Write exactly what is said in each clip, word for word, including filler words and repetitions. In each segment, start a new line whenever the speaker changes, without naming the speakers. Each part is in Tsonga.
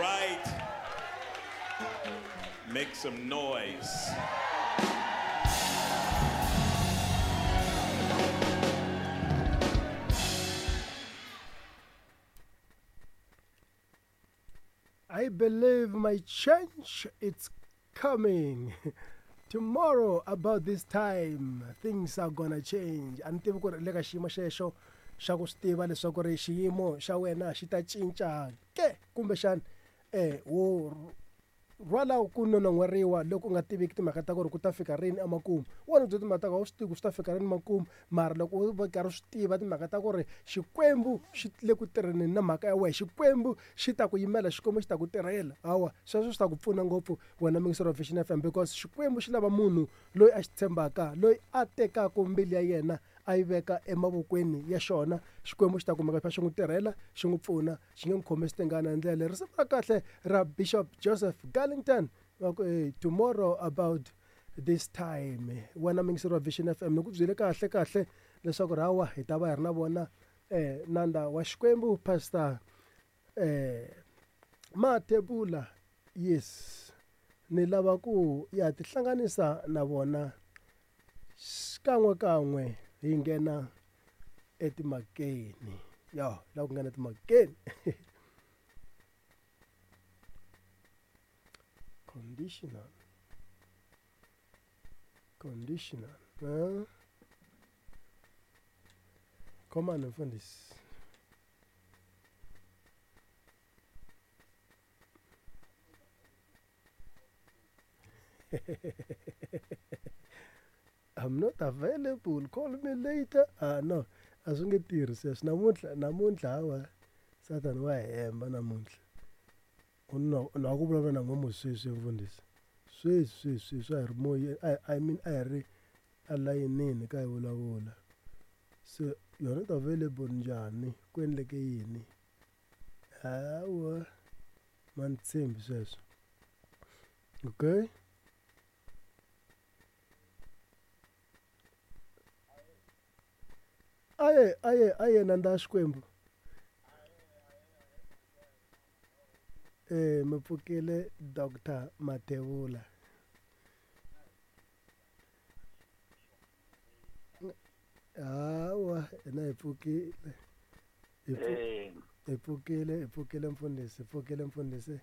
right. Make some noise.
I believe my change is coming. Tomorrow about this time things are gonna change. A ni tivi ku ri le ka xiyimo xexo xa ku swi tiva leswaku ri xiyimo xa wena xi ta cinca ke kumbexana eh wo rhwala ku nonon'hweriwa loko u nga tiviki timhaka ta ku ri ku ta fika rini emakumu. Wona bya timhaka ta ku a wu swi tivi ku swi ta fika rini makumu, mara loko u va karhi u swi tiva timhaka ta ku ri Xikwembu xi le ku tirheni na mhaka ya wena, Xikwembu xi ta ku yimela, Xikwembu xi ta ku tirhela, hawa sweswo swi ta ku pfuna ngopfu wena muyingiseri wa Vision F M, because Xikwembu xi lava munhu loyi a xi tshembaka, loyi a tekaka mbilu ya yena a yi veka emavokweni ya xona. Xikwembu xi ta kumeka xi n'wi tirhela, xi n'wi pfuna, xi nge n'wi khomisi tingana hi ndlela leyi. Risimu ra kahle ra Bishop Joseph Garlington va ku hey, tomorrow about this time. Wena muyingiseri wa Vision F M, ni ku byele kahle kahle leswaku hawa hi ta va hi ri na vona eh nanda wa Xikwembu Pastor eh Mathebula. Yes, ni lava ku ya tihlanganisa na vona xikan'we kan'we hi nghena etimakeni. Ya la ku nghena etimakeni. Conditional. Conditional. Huh? Come on, mfundisi. I'm not available. Call me later. Ah, no. A swi nge tirhi sweswo. Namuntlha, namuntlha hawa Satan wa hemba namuntlha. U na na ku vulavula na n'we sweswi mfundhisi. Sweswi, sweswi, sweswi a hi ri moyeni, I, I mean a hi ri alayinini ka hi vulavula. So you're not available njhani? Ku endleke yini? Hawa ma ni tshembi sweswo. Okay? Aye, aye, aye nanda Xikwembu. Eh, mi pfukile Doctor Mathebula. Hawa, hina hi pfukile. Hi hi pfukile, hi pfukile mfundhisi, hi pfukile mfundhisi.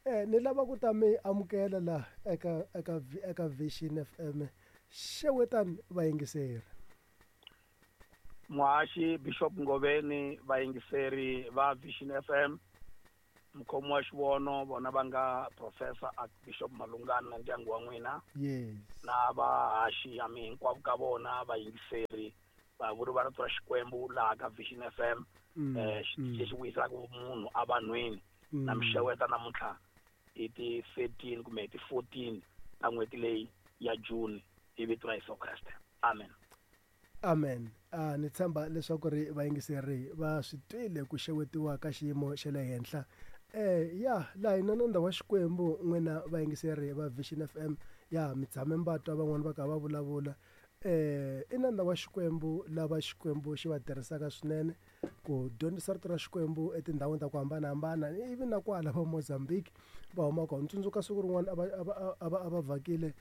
Eh, ni lava ku ta mi amukela la eka eka eka Vision F M. Xewetani vayingiseri.
Muhaxi Bishop Ngoveni, vayingiseri va Vision F M, mukhomi wa xivono vona va nga Professor Archbishop Malungana na ndyangu wa n'wina.
Yes.
Na vahaxi ya mi hinkwavo ka vona vayingiseri va vuri va rito ra Xikwembu laha ka Vision F M,
Mm,
eh
mm.
lexi vuyisaka munhu evanhwini.
Mm.
Na mixeweta namuntlha hi ti thirteen kumbe hi ti fourteen ta n'hweti leyi ya June hi vito ra Yesu Kreste. Amen.
Amen. Ah, ni tshemba leswaku ri vayingiseri va swi twile ku xewetiwa ka xiyimo xa le henhla. Eh, ya laha hina nandza wa Xikwembu n'wina vayingiseri va Vision F M, ya mi tshame mi va twa van'wani va kha va vulavula. Eh, i nandza wa Xikwembu lava Xikwembu xi va tirhisaka swinene ku dyondzisa rito ra Xikwembu etindhawini ta ku hambanahambana, ivi na kwala va Mozambique va huma kona. Ni tsundzuka siku rin'wana a va, a va, a va, a va vhakile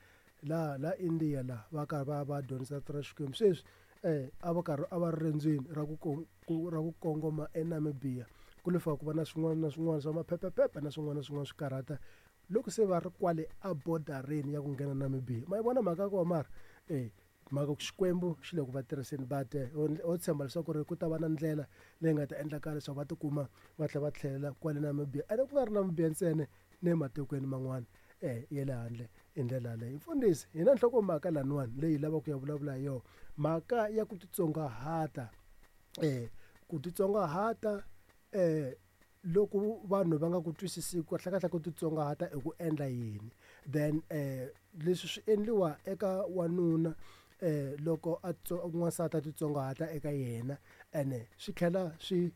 la, la India la va karhi va, va dyondzisa rito ra Xikwembu. Sweswi eh a va karhi a va ri rendzweni ra ku kong-, ku, ra ku kongoma eNamibia, ku lo fika ku va na swin'wana na swin'wana swa maphephephephe na swin'wana na swin'wana swi karhata loko se va ri kwale a bordereni ya ku nghena Namibia. Ma yi vona mhaka ya kona mara? Eh, mhaka ku Xikwembu xi le ku va tirhiseni, but ho tshemba leswaku ri ku ta va na ndlela leyi nga ta endlaka leswaku va tikuma va tlhela va tlhelela kwale Namibia, ene ku nga ri Namibia ntsena ne matikweni man'wana eh ya le handle. Hi ndlela yaleyo mfundhisi, hi na nhlokomhaka laniwani leyi hi lavaka ku ya vulavula hi yona, mhaka ya ku titsongahata. Eh, ku titsongahata eh loko vanhu va nga ku twisisi kahle kahle ku titsongahata i ku endla yini, then eh leswi swi endliwa eka wanuna eh loko a tso-, n'wansati a titsongahata eka yena, ene swi tlhela swi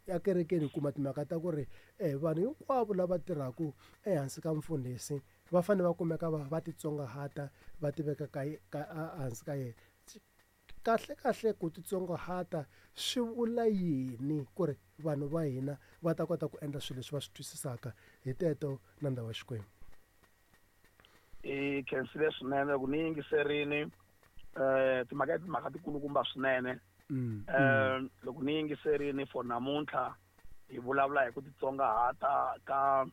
ekerekeni hi kuma timhaka ta ku ri eh vanhu hinkwavo lava tirhaka ehansi ka mfundhisi va fanele va kumeka va, va titsongahata, va tiveka ka ye-, ka, a, hansi ka yena. Kahle kahle ku titsongahata swi vula yini ku ri vanhu va hina va ta kota ku endla swilo leswi va swi twisisaka hi teto nandza wa Xikwembu.
I khensile swinene loko ni yingiserini eh timhaka timhaka tikulukumba swinene.
Mm,
Eh loko ni yingiserini for namuntlha hi vulavula hi ku titsongahata ka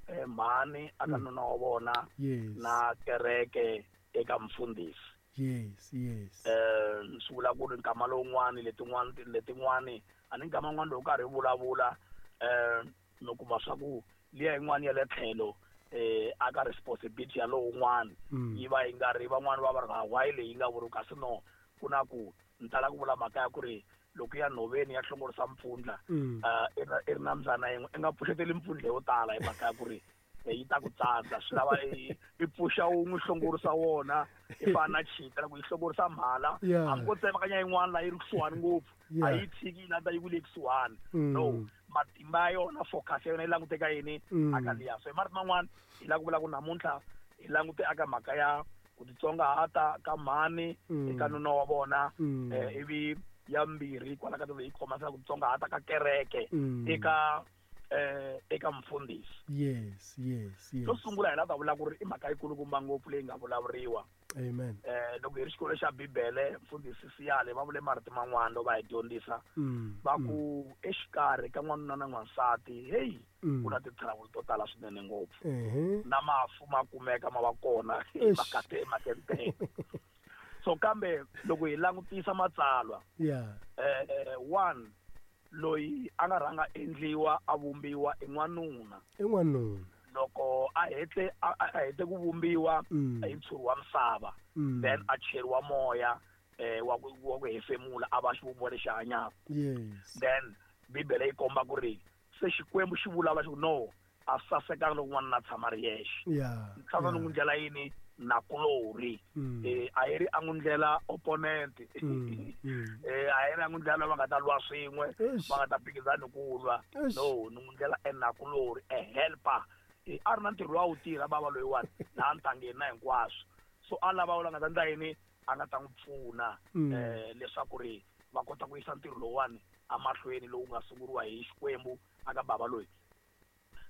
eh, mhani aka
Mm.
nuna wa vona
Yes.
na kereke eka mfundhisi.
Yes, yes.
Eh swi vula ku ri nkama lowun'wani letin'wani letin'wani a ni nkama wun'wani loko karhi hi vulavula eh mi kuma swa ku liya yin'wani ya le tlhelo eh aka responsibility ya lowun'wani
Mm.
yi va yi nga ri van'wani va va ri why leyi nga vuriwi kasi no ku na ku ni tala ku vula mhaka ya ku ri loko ya nhoveni ya hlongorisa mpfundla
Mm.
eh, i ri- i ri na mbyana yin'we i nga pfuxeteli mpfundla yo tala hi mhaka ya ku ri eh, yi ta ku tsandza swi lava i i pfuxa wun'we hlongorisa wona i fana na chita loko yi hlongorisa mhala
Yeah.
hambi ko tsemakanya yin'wana laha yi ri kusuhani ngopfu a
Yeah.
yi tshiki yi landza yi ku le kusuhani
Mm.
no matimba ya yona focus ya yona yi languteka yini
Mm.
aka liya. So hi marito man'wani hi lava ku vula ku namuntlha hi langute aka mhaka ya ku titsongahata ka mhani
Mm.
eka nuna wa vona
Mm.
eh, ivi ya mbirhi kwala ka yi khoma ku titsongahata ka kereke
Mm.
eka eh eka mfundhisi.
Yes, yes, yes.
Xo sungula hi lava ta vula ku ri i mhaka yikulukumba ngopfu leyi nga vulavuriwa.
Amen.
Eh loko hi ri xikolo xa Bibele mfundhisi Siyale va vule marito man'wana loko va hi dyondzisa
Mm.
va ku exikarhi ka n'wanuna na n'wansati hey
Mm.
ku na ti-trouble to tala swinene ngopfu.
Ehe.
Na mafu ma kumeka ma va kona
Eish.
makate emakete. So kambe loko hi langutisa matsalwa
Yeah.
eh eh, one loyi a nga rhanga endliwa a vumbiwa i n'wanuna.
I n'wanuna.
Loko a hete a a hete ku vumbiwa
Mm.
hi ntshuri wa misava
Mm.
then a cheriwa moya eh wa ku wa ku hefemula a va xivumbiwa lexi hanyaka.
Yes.
Then Bibele yi komba ku ri se Xikwembu xi vulavula xi ku no a sasekanga loko n'wanuna a tshama ri yexe.
Yeah.
Tshama ni n'wi ndlela yini nakulorhi.
Mm.
Eh a yi ri a n'wi ndlela opponent.
Mm. Mm.
Eh a yi ri a n'wi ndlela lava nga ta lwa swin'we
Eish.
va nga ta phikizana hi ku lwa.
Eish.
No ni n'wi ndlela enakulorhi a helper. Eh a ri na ntirho lowu a wu tirha bava loyiwani laha ntangeni na hinkwaswo. So a lava la nga ta endla yini a nga ta n'wi pfuna
Mm.
eh leswaku ri va kota ku yisa ntirho lowuwani emahlweni lowu nga sunguriwa hi Xikwembu aka bava loyi.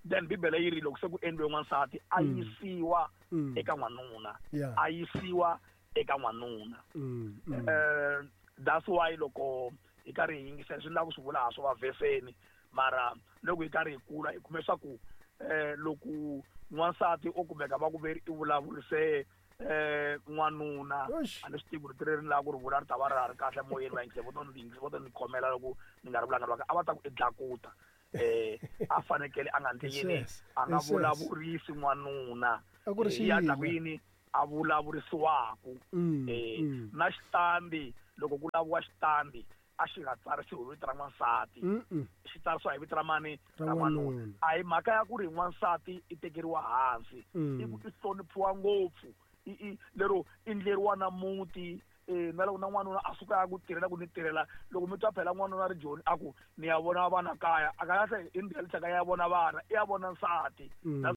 Then Bibele yi ri loko se ku endliwe n'wansati a
Mm.
yisiwa
Mm.
eka n'wanuna.
Yeah.
A yisiwa eka n'wanuna.
Mm. Mm.
Eh that's why loko hi karhi hi yingisela swi lava ku swi vula ha swo va vheseni mara loko hi karhi hi kula hi kume swa ku eh loko n'wansati o kumeka va ku veri i vulavurise eh n'wanuna
Eish.
a ni swi tivi ku ri ri ri lava ku ri vula ri ta va ra ha ri kahle moyeni va yingisela vo to ni yingisa vo to ni khomela loko ni nga ri vulanga a va ta ku i dlakuta. Eh a fanekele a nga ndli yini
Yes,
a nga
yes.
vulavurisi n'wanuna.
A ku ri
Eh, ya dlaku
xiyila.
yini a vulavurisiwaku.
Mm,
Eh
mm.
na xitandi loko ku laviwa xitandi a xi nga tsarisiwi hi vito ra n'wansati.
Mm mm.
Xi tsarisiwa hi vito ra mani
Ra
ra n'wanuna.
n'wanuna.
A hi mhaka ya ku ri n'wansati i tekeriwa hansi.
Mm.
I ku i hloniphiwa ngopfu. I i lero i ndleriwa na muti eh na loko na n'wanuna a suka a ku tirhela ku ni tirhela loko mi twa phela n'wanuna ri Joni a ku ni ya vona vana kaya a kahle in reality ka ya vona vana i ya vona nsati.
Mm.
That's